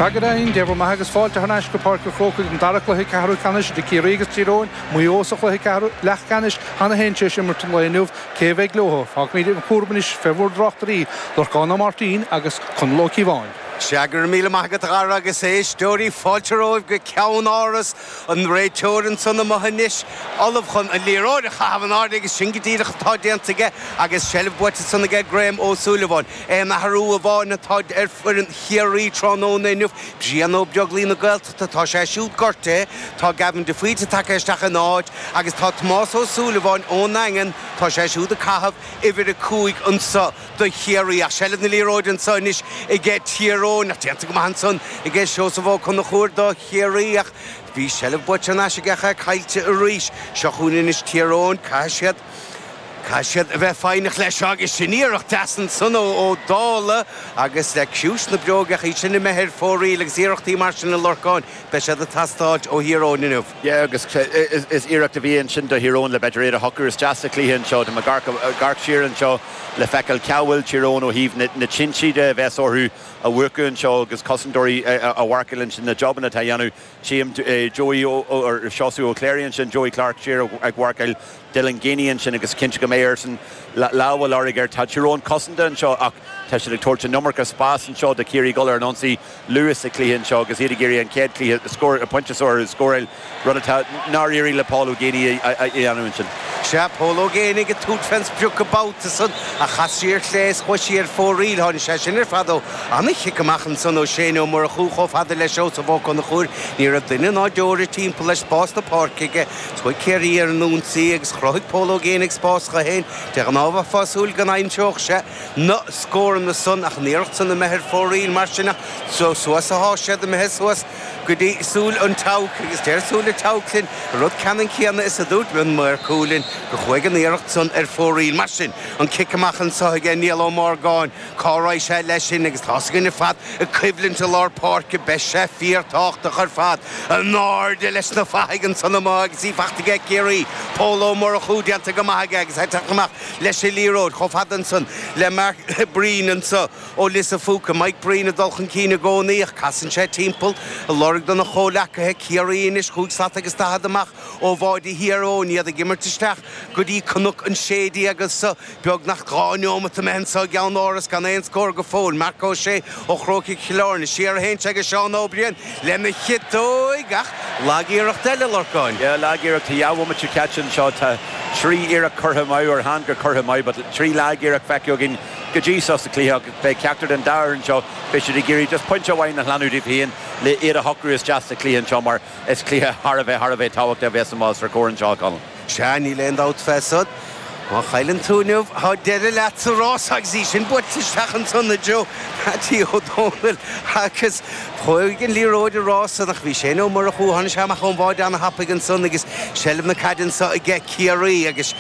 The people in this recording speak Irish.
Sea go deimhin, Dé bhur mbeatha agus fáilte thar n-ais go Páirc an Chrócaigh don dara cluiche ceathrú ceannais idir Ciarraí agus Tír Eoghain, Maigh Eo sa chluiche ceathrú leathcheannais cheana féin tar éis imirt an lae inniu. Cé a bheidh leo? Fágfaimid an cúram anois fé bhur dtráchtairí, Lorcán Ó Máirtín agus Conall Ó Cíobháin. Sea, go raibh míle maith agat a Dhara agus éisteoirí, fáilte romhaibh go Ceann Áras, an réiteoir ansan amuigh anois, ullamh chun an liathróid a chaitheamh in airde agus sin go díreach atá déanta aige agus seilbh buaite ansan aige Graham Ó Súilleabháin. Aon athrú amháin atá ar foireann Chiarraí tráthnóna inniu, Brian Ó Beaglaoich na Gaeltachta, tá sé siúd gortaithe, tá Gavin de Faoite tagtha isteach ina áit agus tá Tomás Ó Súilleabháin ón nDaingean, tá sé siúd ag caitheamh uimhir 5 anso do Chiarraí. Ach seilbh na liathróide anso anois aige Tír Eoghain, ach déanta go maith ansan aige Seosamh Ó Conchúir do Chiarraí ach bhí seilbh buaite thar n-ais aige ach é caillte arís. Seo chugainn anois Tír Eoghain, caithfidh siad. Caithfidh siad a bheith foighneach leis seo agus sin iarracht deas ansan ó Ó Dálaigh agus le ciumhais na bróige ach í sin imithe ar fóraoil agus iarrachtaí mar sin a Lorcáin, beidh siad ag teastáilt ó Thír Eoghain inniu. Yeah agus is iarracht a bhí ansin do Thír Eoghain le b'fhéidir iad a shocrú isteach sa chluiche anseo. Tá mé ag amharc siar anseo le feiceáil cá bhfuil Tír Eoghain ó thaobh na tinte de a bheas orthu a mhúchadh anseo agus cosantóirí a mharcáil ansin, na jobanna atá a dhéanamh. Tchím Joey or Seosamh Ó Cléirigh ansin, Joey Clarke siar ag mharcáil Dylan Geaney ansin agus cinnte go mbeidh airsean lámh á lorg air. Tá Tír Eoghain cosanta anseo ach tá siad ag tabhairt an iomarca spás anseo do Chiarraí dul ar an ionsaí luath sa chluiche anseo agus iad ag iarraidh an chéad chluiche scór, pointe a scóráil, rud atá nár éirigh le Paul Ó Géibheannaigh a dhéanamh ansin. Sea, Pól Ó Géibheannaigh ag tabhairt fén sprioc an babhta san ach chas sí ar chlé is chuaigh sí ar fóraoil. Tháinig sé sin ar fad ó ana-chic amach ansan ó Shane Ó Murchú chomh fada le Seosamh Ó Conchúir. Ní raibh duine ná deoraí timpeall leis, spás na páirce aige. Chuaigh Ciarraí ar an ionsaí agus chruthaigh Pól Ó Géibheannaigh spás dho fhéin. De ghnáth bheifeá ag súil go n-aimseodh sé na scóranna san ach an iarracht san imithe ar fóraoil mar sin ach suas athá siad imithe suas go dtí Súil an tSeabhaic agus deir Súil an tSeabhaic linn an rud ceannann céanna is a dúirt an maor cúil linn go chuaigh an iarracht san ar fóraoil. Mar sin, an cic amach anso aige Niall Ó Morgáin, cá raghaidh sé leis sin agus tá's againn ar fad an choimhlint i lár páirce, beidh sé fíorthábhachtach ar fad. In airde leis na fathaigh ansan amuigh agus í fachta aige Ciarraí, Pól Ó Murchú déanta go maith aige agus é ag teacht amach leis an liathróid chomh fada ansan le Mark Breen anso. Ó Lios an Phúca, Mike Breen ag dul chun cinn i gcónaí ach casann sé timpeall ag lorg dona chomhleacaithe, Ciarraí anois chúig slat agus 40 amach ó bháide Thír Eoghain, iad ag imirt isteach go dtí Cnoc an 16 anso, beagnach 2 neomat imithe anso i gCeann Áras gan aon scór go fóill. Marc Ó Sé ó Chrócaigh Chill Airne, siar a théann sé go Seán Ó Briain lena chiotóig ach lag-iarracht eile, Lorcáin. Yeah, lag-iarracht. Tá dhá bhomaite caite anseo. Tá trí iarracht curtha amú, or chan gur curtha amú, but trí lag-iarracht feicthe againn. go dtí seo sa chluiche agus beidh ceachtar den dá fhoireann seo, beidh siad ag iarraidh just pointe amháin a shlánú dóibh féin le iad a shocrú isteach sa chluiche anseo mar is cluiche thar a bheith, thar a bheith tábhachtach a bheas amach os ár gcomhair anseo, a Chonaill. Sea, níl aon dabht fé san. Má chailleann tú inniu, tá deireadh leat sa rás agus í sin buailte isteach ansan i dtreo Mattie Ó Dónaill agus chuaigh an liathróid i rás san ach bhí Shane Ó Murchú, tháinig sé amach ón bháide ana-thapaidh ansan agus seilbh na caide anso aige Ciarraí agus.